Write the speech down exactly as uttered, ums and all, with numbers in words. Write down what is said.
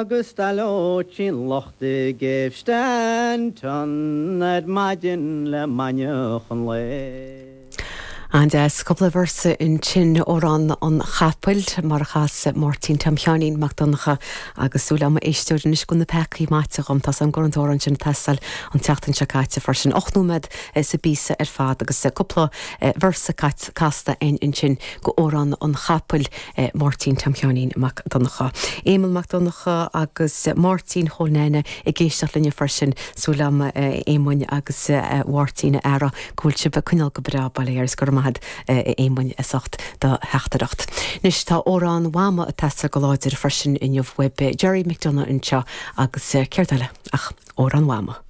Agus Dallóitín Lochtaigh ag éibhstean ar maidin le maidneachan lae. An-deas cúpla véarsa ansin Amhrán an Chapaill mar a chas Máirtín Tom Sheáinín Mac Donncha agus súil agam éisteoir anois go na peacaí maite dhom tá an gorantóir sin teastáil an tseachtain seo caite freisin ocht nóiméad sa bpíosa ar fad agus cúpla véarsa casta ansin go Amhrán an Chapaill Máirtín Tom Sheáinín Mac Donncha. Éamon Mac Donncha agus Máirtín Chóil Neaine ag éisteacht linne freisin súil agam Éamoin agus Mháirtín ara go bhfuil sibh coinneáil go breá baile agus go maith Éamoin as ucht do theachtaireacht. Anois tá Amhrán Mhama ag teastáil go láidir freisin inniu uaibh Jerry McDonough anseo agus céard eile ach Amhrán Mhama.